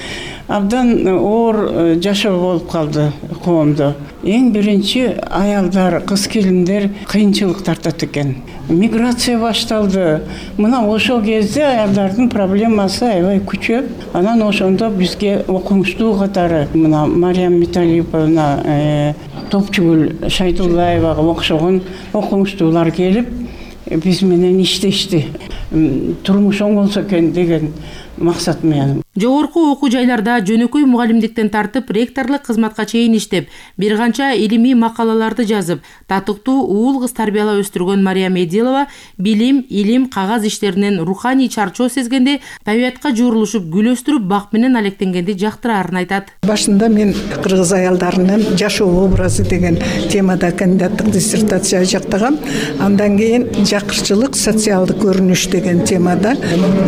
абдан оор жашоо болуп калды коомдо. Эң биринчи аялдар, кыз келиндер кыйынчылык тартат экен. Миграция башталды. Мына ошол кезде аялдардын проблемасы аябай күчөп, анан ошондо бизге окумуштуу катары мына Мариям Виталиевна, Топчугүл Шайдуллаевага окшогон окумуштуулар келип, биз менен иштешти. Турмуш оңолсо экен деген максат менен. Жогорку окуу жайларда жөнөкөй мугалимдиктен тартып ректорлук кызматка чейин иштеп, бир канча илимий макалаларды жазып, татыктуу уул кыз тарбиялап өстүргөн Мариям Эдилова билим, илим, кагаз иштеринен руханий чарчоо сезгенде табиятка жуурулушуп, гүл өстүрүп, бак менен алектенгенди жактыраарын айтат. Башында мен кыргыз аялдарынын жашоо образы деген темада кандидаттык диссертация жактагам. Андан кийин жакырчылык, социалдык көрүнүш деген темада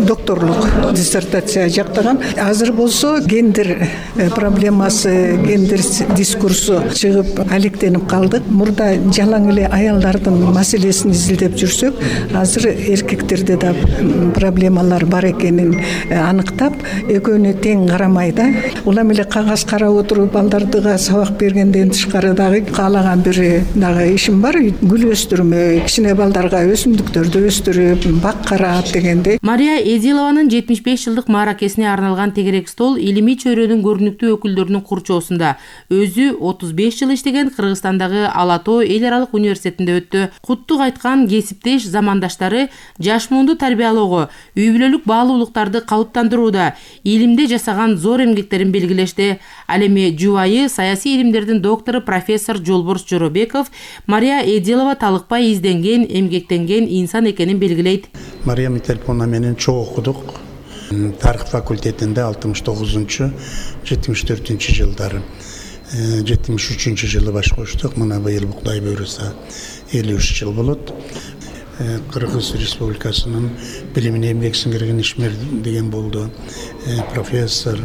докторлук диссертация жактагам. Азыр болсо гендер проблемасы, гендер дискурсу чыгып алектенип калдык. Мурда жалаң эле аялдардын маселесин изилдеп жүрсөк, азыр эркектерде да проблемалар бар экенин аныктап, экөөнү тең карамай да. Улам эле кагаз карап отуруп балдардыга сабак бергенден тышкары дагы каалаган бир дагы ишим бар. Гүл өстүрмө, кичине балдарга өсүмдүктөрдү өстүрүп, бак карап дегендей. Мария Эдилованын жетимиш беш жылдык мааракесине арналган тегерек стол илимий чөйрөнүн көрүнүктүү өкүлдөрүнүн курчоосунда өзү отуз беш жыл иштеген Кыргызстандагы Ала Тоо эл аралык университетинде өттү. Куттук айткан кесиптеш замандаштары жаш муунду тарбиялоого, үй бүлөлүк баалуулуктарды калыптандырууда илимде жасаган зор эмгектерин белгилешти. Ал эми жубайы саясий илимдердин доктору профессор Жолборс Жоробеков Мария Эдилова талыкпай изденген, эмгектенген инсан экенин белгилейт. Мариям Виталиевна менен чогуу окудук. Тарих факультетинде алтымыш тогузунчу жетимиш төртүнчү жылдары. жетимиш үчүнчү жылы баш коштук. Мына быйыл Бугдай бөрүсү элүү үч жыл болот. Кыргыз Республикасынын билимине эмгек сиңирген ишмер деген болду. Профессор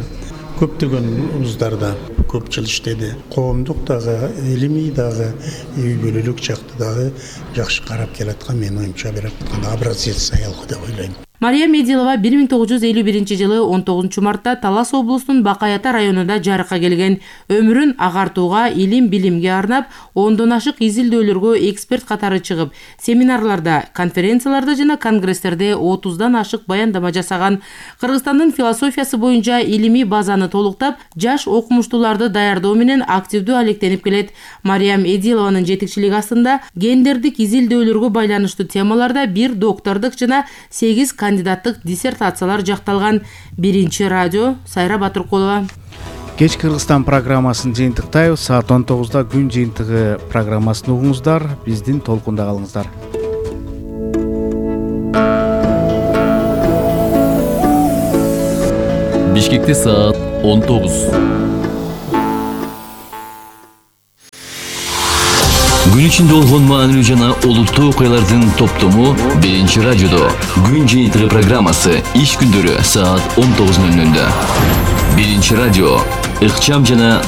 көптөгөн вуздарда көп жыл иштеди. Коомдук дагы, илимий дагы, үй бүлөлүк жакты дагы жакшы карап келаткан, менин оюмча берип аткан образец аял деп ойлойм. Мария Медилова бир миң тогуз жүз элүү биринчи жылы он тогузунчу мартта Талас облусунун Бакай Ата районунда жарыкка келген. Өмүрүн агартууга, илим билимге арнап, ондон ашык изилдөөлөргө эксперт катары чыгып, семинарларда, конференцияларда жана конгресстерде отуздан ашык баяндама жасаган. Кыргызстандын философиясы боюнча илимий базаны толуктап, жаш окумуштууларды даярдоо менен активдүү алектенип келет. Мариям Эдилованын жетекчилиги астында гендердик изилдөөлөргө байланыштуу темаларда бир доктордук жана сегиз кандидаттык диссертациялар жакталган. Биринчи радио, Сайра Батыркулова. Кеч Кыргызстан программасын жыйынтыктайбыз. Саат он тогузда күн жыйынтыгы программасын угуңуздар. Биздин толкунда калыңыздар. Бишкекте саат он тогуз. Gün içinde olğan maanilүү жана олуттуу окуялардын топтому биринчи радиодо. Күн жыйынтыгы программасы иш күндөрү саат он тогуз ноль нолдо. Биринчи радио ыкчам жана